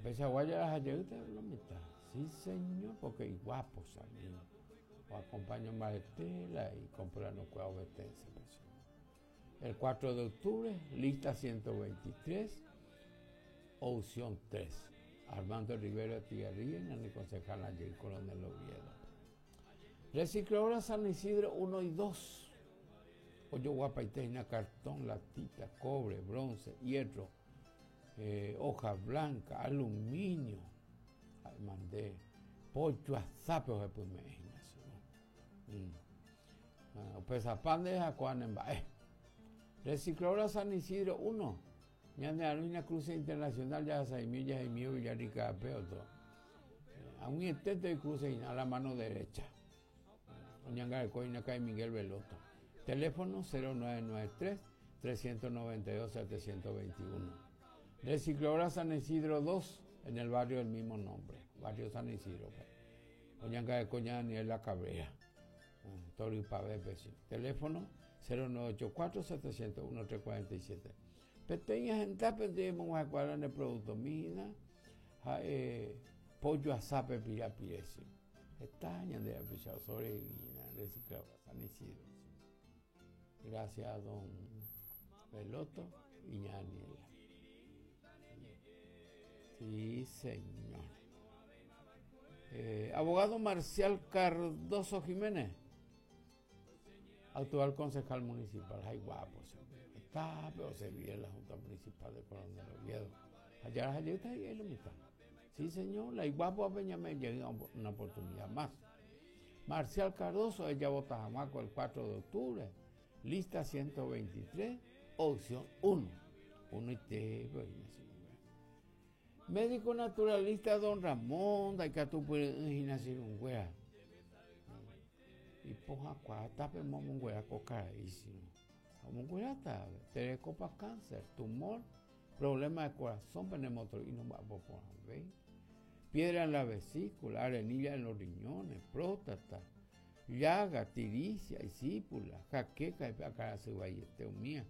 Peichagua jaraha jeýta lo mitã. Sí señor, porque iguapo salir. O acompaño mbarete la icomplano-kuéra ovetense-pe. El 4 de octubre, lista 123, opción 3. Armando Rivero Estigarribia, ñane concejal ayer Coronel Oviedo. Recicladora San Isidro 1 y 2. Ojoguapaite hína cartón, latita, cobre, bronce, hierro, eh, hoja blanca, aluminio. Mande pollo asápe ohepyme'ẽ hína. Mm. Ah, Upesapa nde ha ko'ã ne mba'e. Recicladora San Isidro 1. Ñane arúina Cruce Internacional jahasaimi jahaimi Villarrica pe otro. Eh, ag̃uietete cruce hína a la mano derecha. Oñangareko hína Kai Miguel Veloto. Teléfono 0993 392 721. Recicladora San Isidro 2 en el barrio del mismo nombre, barrio San Isidro. Oñangareko ña Daniela Cabrera. Torypavẽpe che. Teléfono 0984 701 347. Peteĩ hendápe nde emog̃uahẽkuaára ne productomi hína ha'e pollo asápe pirapire che. Heta ñande rapicha osorevi hína recicladora San Isidro. Gracias don Veloto y ña Daniela. Sí, señor. Eh, abogado Marcial Cardoso Jiménez, actual concejal municipal. Ay, guapo, está, pero se vive en la Junta Municipal de Coronel Oviedo. Allá está ahí lo mitad. Sí, señor, la guapo a Peñamé llega una oportunidad más. Marcial Cardoso, ella vota Jamaco el 4 de octubre. Lista 123, opción 1. 1 y T, Médico naturalista don Ramón ndaikatupyry'ỹ hína che irũnguéra. Ipohãkuaa tape omonguera ko karai sino omongueráta terekópa cáncer, tumor, problema de corazón pene motor'i nomba'apo porãvéi, piedra en la vesícula, arenilla en los riñones, próstata, llaga, tiricia, isípula, jaqueca, akãrasy vaiete umía.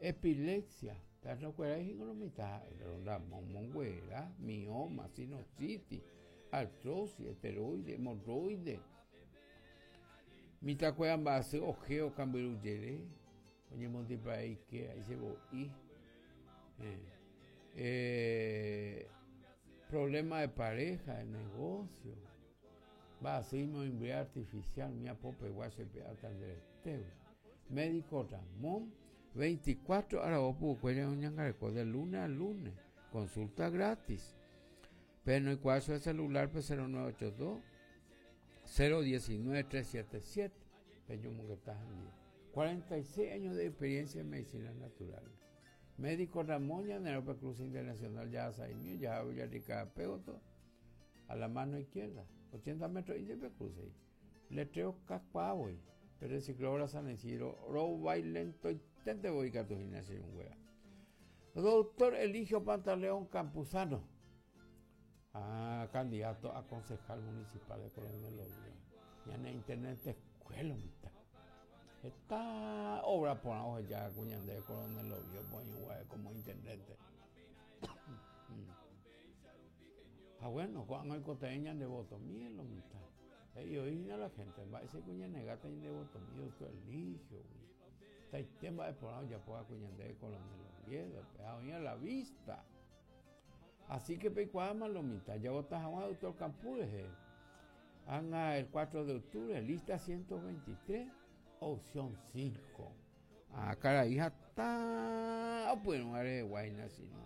Epilepsia, perrokuéra hína lo mitã ha'e, pero ramo monguera, mioma, sinusitis, artrosis, esteroide, hemorroide. Mitãkuéra mba'asy ojeo kambyru jere, oñemondypa'e ikéra, isevo'i. Eh, problema de pareja, de negocio. Mba'asy imoĩmbyre artificial, umi apopegua che pe'áta nde retégui. Médico Ramón, 24 aravo pukukue oñangareko de lunes a lunes. Consulta gratis. Pe noikuaa chupe celular-pe 0982 019 377. Peñomongeta hendive. 46 años de experiencia en medicina natural. Médico Ramón ñane Cruz Internacional jahasa'imi jaha Villarrica Pégoto a la mano izquierda. 80 metros y cruce. Letrero kakuaa voi. Pe recicladora San Isidro rovái lentoiténte voi katu hína che irũnguéra. Doctor Eligio Pantaleón Campuzano, ah, candidato a concejal municipal de Coronel Oviedo. Ñane intendente escuela mitã. Heta obra porã oheja ku ñande Coronel Oviedo poĩ como intendente. Ha bueno, ko'ág̃a oikotevẽ ñande votomi lo mitã. He'i oĩ hína la gente, mba'éicha ñanegáta ñande votomi doctor Eligio-gui. Hetaite mba'e porã ojapo va'ekue ñandéve Coronel Oviedo-pe ha oĩ a la vista. Así que peikuaáma lo mitã, javota hag̃ua doctor Campú rehe. Ág̃a el 4 de octubre, lista 123, opción 5. Ah, karai hatã opyrũva rehegua hína sino.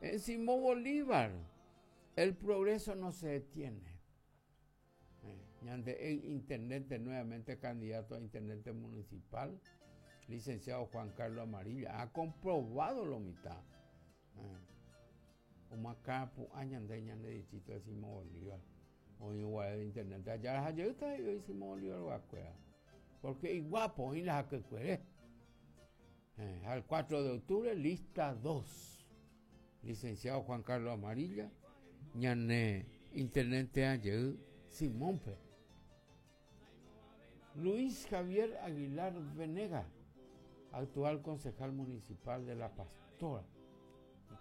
En Simón Bolívar, el progreso no se detiene. Ñande intendente nuevamente candidato a intendente municipal, licenciado Juan Carlos Amarilla, ha comprobado lo mitad. Omoakãrapu'ã ñande ñande distrito de Simón Bolívar. Oĩ guare de intendente allá jeýta he'i Simón Bolívar rogakuéra. Porque iguapo oĩ la hakykuere. Al 4 de octubre, lista 2. Licenciado Juan Carlos Amarilla, ñane intendente jey Simónpe. Luis Javier Aguilar Venega, actual concejal municipal de La Pastora.